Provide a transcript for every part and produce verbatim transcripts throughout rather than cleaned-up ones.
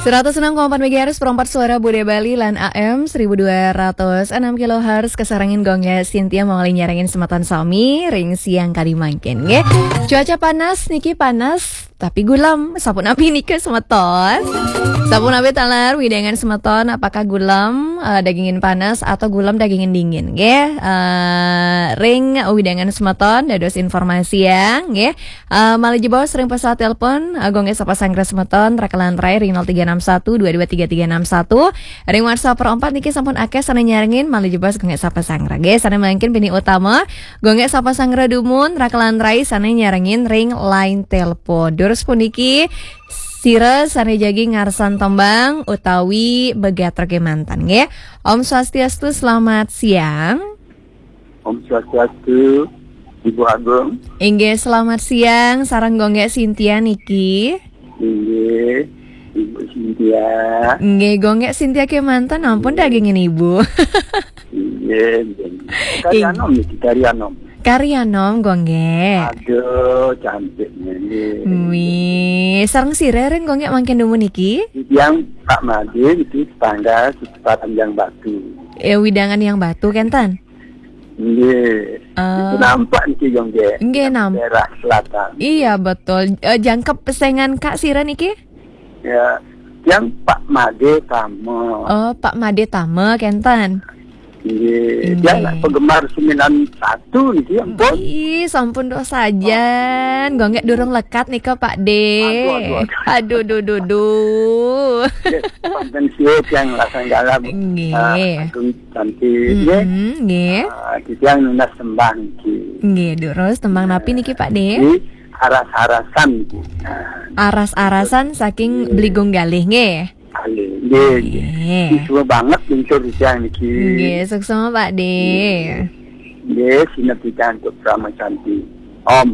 Seratus enam koma empat megahertz, perempat suara Bude Bali lan A M seribu dua ratus enam kilohertz, kasarengin Gung Gek Sintia mawali nyarengin semeton sami ring siang kadi mangkin, nggih. Cuaca panas niki, panas tapi gulem. Sapunapi nika semeton? Sapunapi taler wewidangan semeton, apakah gulem, eh, dagingin panas atau gulem dagingin dingin, nggih? Eh, ring wewidangan semeton dados informasi ya, nggih. Eh, malih jebos ring pesawat telepon, eh, Gung Gek sapa sanggra semeton, rakelan rai ring nol tiga enam satu dua dua tiga tiga enam satu. Ring WhatsApp perempat niki sampun akeh sane nyarengin, malih jebos Gung Gek sapa sanggra. Nggih, sane mangkin pinih utama, Gung Gek sapa sanggra dumun, rakelan rai sane nyarengin ring line telepon. Durus puniki, sira sane jagi ngarsan tembang utawi begatrake mantan, nggih. Om Swastiastu, selamat siang. Om Swastiastu, Ibu Agung. Inggih, selamat siang, sareng Gung Gek Sintia niki. Inggih, Ibu Sintia. Nggih, Gung Gek Sintia kemanten, ampun dagingin Ibu. Inggih, inggih. Kari Ing- Anom niki, Kari Anom. Kari Anom, Gung Gek. Aduh, cantiknya nggih. Wih, sareng sira ring Gung Gek mangkin dumun niki? Yang Pak Made itu tetangga sekitar Yang Batu. Eh, wewidangan Yang Batu kenten? Nggih. Eh. Itu nampak niki, Gung Gek. Nggih, nam- Daerah selatan. Iya, betul. Eh, jangkep pesengan Kak sira niki? Ya, yang Pak Made Tama. Oh, Pak Made Tama kenten. Nggih. Nggih. Yang penggemar sembilan satu niki, ampun. Ih, sampun dosa sajan. Gung Gek durung lekat nika, Pak De. Aduh, aduh, aduh. Aduh, duh, duh, duh. Nggih, wonten siu yang lasang galak. Nggih. Ah, Agung cantik, nggih. Mm-mm, nggih. Ah, titiang nunas tembang niki. Nggih, durus tembang napi niki, Pak De? Niki aras-arasan niki. Nah, aras-arasan saking Beli Gung Galih, nggih. Galih, nggih, nggih. Nggih. Suksma banget lincur titiang niki. Nggih, suksma, Pak De. Nggih. Nggih, sineb titiang untuk Prama Santi. Om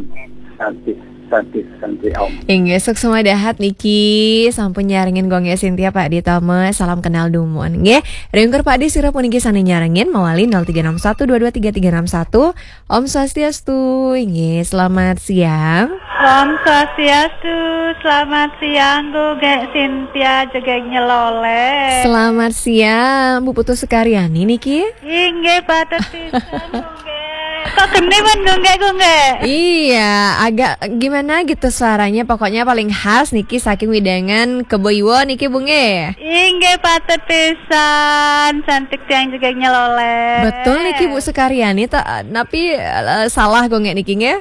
Santi, Santi, Santi Om. Inggih, suksma dahat niki, sampun nyarengin Gung Gek Sintia, Pak De Tama, salam kenal dumun. Nggih, ringkur Pak De sira puniki sane nyarengin mawali nol tiga enam satu dua dua tiga tiga enam satu. Om Swastiastu, inggih, selamat siang. Om Swastiastu, selamat siang, Gung Gek Sintia, jegeg nyeloleh. Selamat siang, Bu Putu Sukaryani niki. Inggih, patut pisan, Gung Gek. Kok geni men, Gung Gek, Gung Gek? Iya, agak gimana gitu suaranya, pokoknya paling khas niki saking wewidangan Kebo Iwa niki, Bu, nggih. Inggih, patut pisan, cantik tiang jegeg nyeloleh. Betul niki, Bu Sukaryani, ta-, napi, eh, salah Gung Gek niki, nggih?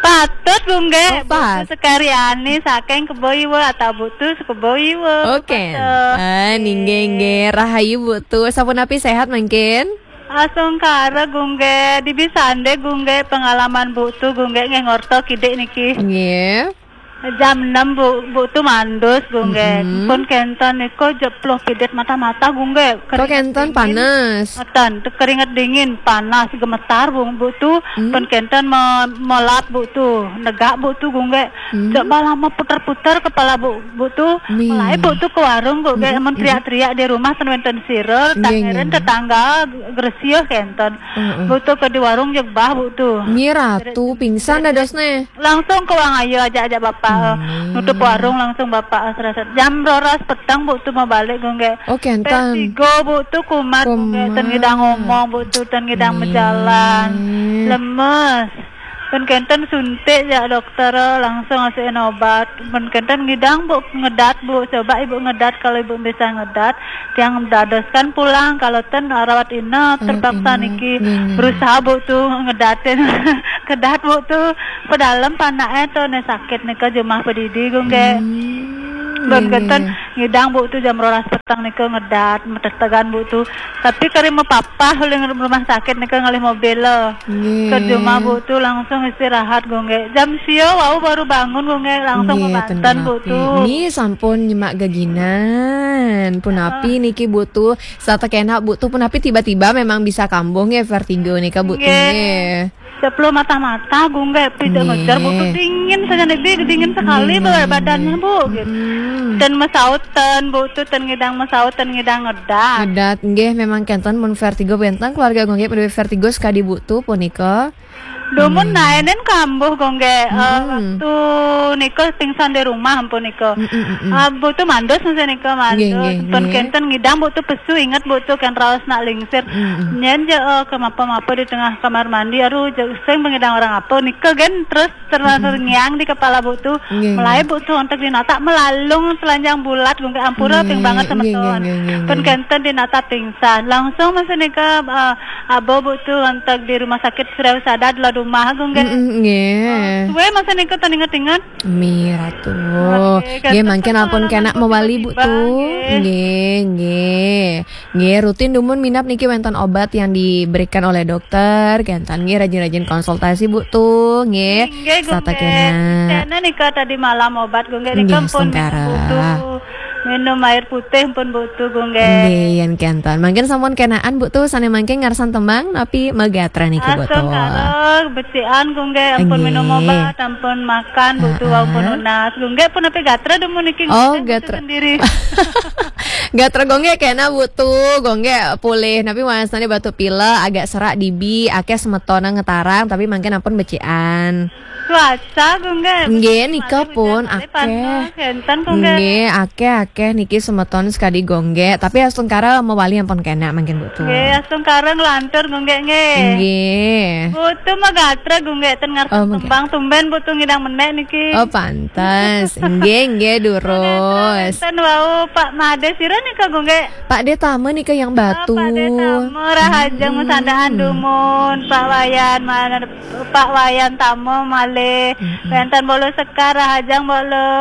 Patut, Gung Gek. Oh, Bu Putu Sukaryani saking Kebo Iwa atau Bu Putu Kebo Iwa. Oke. Patut. Ah, nggih, nggih. Rahayu, Bu Putu. Sapunapi, sehat mangkin? Asung kara, Gung Gek. Dibi sande, Gung Gek, pengalaman Bu Putu, Gung Gek, nggih ngorta kidik niki. Nggih. Jam enam, Bu, Bu Putu mandus, Gung Gek. Mm-mm. Pun kenten nika jepluh pidit mata-mata, Gung Gek. Kok kenten panas? Keringet dingin, panas, gemetar, Bu, Bu Putu. Hmm. Pun kenten me-, melap, Bu Putu. Negak, Bu Putu, Gung Gek. Hmm. Coba lama putar-putar kepala Bu, Bu Putu. Mulai Bu Putu ke warung, Gung Gek. Hmm. Mun teriak-teriak di rumah, ten wenten sira, nggih, nggih, nggih. Tetangga, gresih kenten. Heeh. Bu Putu ke di warung jegbah, Bu Putu. Nggih, Ratu, pingsan dadosne. Langsung ke Wang Ayu, ajak-ajak bapak, eh, nutup warung, langsung bapak, eh, serasa. Jam roras peteng, Bu Putu mau balik, Gung Gek. Oh, kenten. Pes tiga, Bu Putu kumat, Gung Gek. Ten ngidang ngomong, Bu Putu, ten ngidang mejalan. Lemes. Pun kenten suntik, ya, dokter, eh, langsung ngasihin obat. Pun kenten ngidang, Bu, ngedat, Bu. Coba Ibu ngedat, kalau Ibu bisa ngedat. Tiang dadoskan pulang, kalau ten rawat inap, terpaksa niki. Nggih, nggih. Berusaha, Bu, tuh ngedatin. Kedat, Bu, tuh pedalem panake tuh ne sakit nika jumah pedidi, Gung Gek. Hmm, nggih, nggih, nggih. Ngidang, Bu, tuh jam rolas peteng nika ngedat, metetegan, Bu, tuh. Tapi kari mepapah uling rumah sakit nika ngalih mobil, eh. Nggih. Ke jumah, Bu, tuh langsung istirahat, Gung Gek. Jam sio wau baru bangun, Gung Gek, langsung mebanten, Bu, tuh. Nggih, sampun nyemak geginan. Punapi niki, Bu, tuh? Satekena, Bu, tuh punapi tiba-tiba memang bisa kambuh nggih, vertigo nika, Bu, tuh, nggih. Ceplo mata-mata, Gung Gek, pijak ngejar, Bu, tu dingin saja nih, Bi, dingin sekali badannya, Bu, gitu. Dan mesaut ten, Bu, tu ten ngidang mesaut, ten ngidang ngedat. Ngedat, nggih, memang kenten mun vertigo, benten keluarga Gung Gek pada vertigo sekadi, Bu, tu punika. Dumun naenen kambuh, Gung Gek, eh, waktu nika pingsan di rumah ampun nika. Ah, Bu, tu mandus masa nika, mandus. Nggih, nggih, pun nggih. Kenten ngidang, Bu, tu pesu, inget, Bu, tu kan raos nak lingsir. Nyen je, eh, ke mapa-mapa di tengah kamar mandi, aduh, je sing pengidang orang apa nika kan, terus terlanjur ngiang di kepala, Bu, tu. Nggih, mulai, nggih. Bu, tu ontek di natak melalung telanjang bulat, Gung Gek, ampura ping banget sama nggih, nggih, nggih, nggih. Pun kenten di natak pingsan. Langsung masa nika, eh, Abo, Bu, tu ontek di rumah sakit Sriwisada di Lodumah, Gung Gek. Mm-mm, nggih. Eh, suwe masa nika ten inget-inget. Mi Ratu. Nggih, mangkin ampun kena mewali, Bu, tu. Nggih, nggih. Nggih, rutin dumun minap niki wenten obat yang diberikan oleh dokter, kenten nggih rajin-rajin konsultasi, Bu, tu. Nggih. Nggih, Gung Gek. Kena nika tadi malam obat, Gung Gek, nika ampun minum, Bu, tu. Minum air putih ampun, Bu, tu, Gung Gek. Nggih, yen kenten. Mangkin sampun kenaan, Bu, tu, sane mangkin ngarsan tembang napi magatra niki, Bu, tu. Asung karo becikan, Gung Gek, ampun minum obat, ampun makan, Bu, tu, ampun nunas. Gung Gek pun napi gatra dumun niki, Gung Gek, Bu, tu, sendiri. Gatra Gung Gek kena, Bu, tu, Gung Gek pulih. Napi wasane batuk pilek, agak serak dibi, akeh semeton ngetarang, tapi mangkin ampun becikan. Cuaca, Gung Gek. Nggih, nika pun akeh. Nggih, akeh-akeh niki semeton sekadi Gung Gek, tapi astungkara mewali ampun kena mangkin, Bu, tu. Nggih, astungkara nglantur, Gung Gek, nggih. Nggih. Bu, tu magatra, Gung Gek, ten ngarep tembang, tumben, Bu, tu, ngidang menek niki. Oh, pantes. Nggih, nggih, durus. Ten wau Pak Made sira nika, Gung Gek. Pak De Tama nika yang Batu. Oh, Pak De Tama, rahajeng masandaan dumun, Pak Wayan, mana Pak Wayan Tama malih. Wenten Bolo Sekar, rahajeng Bolo.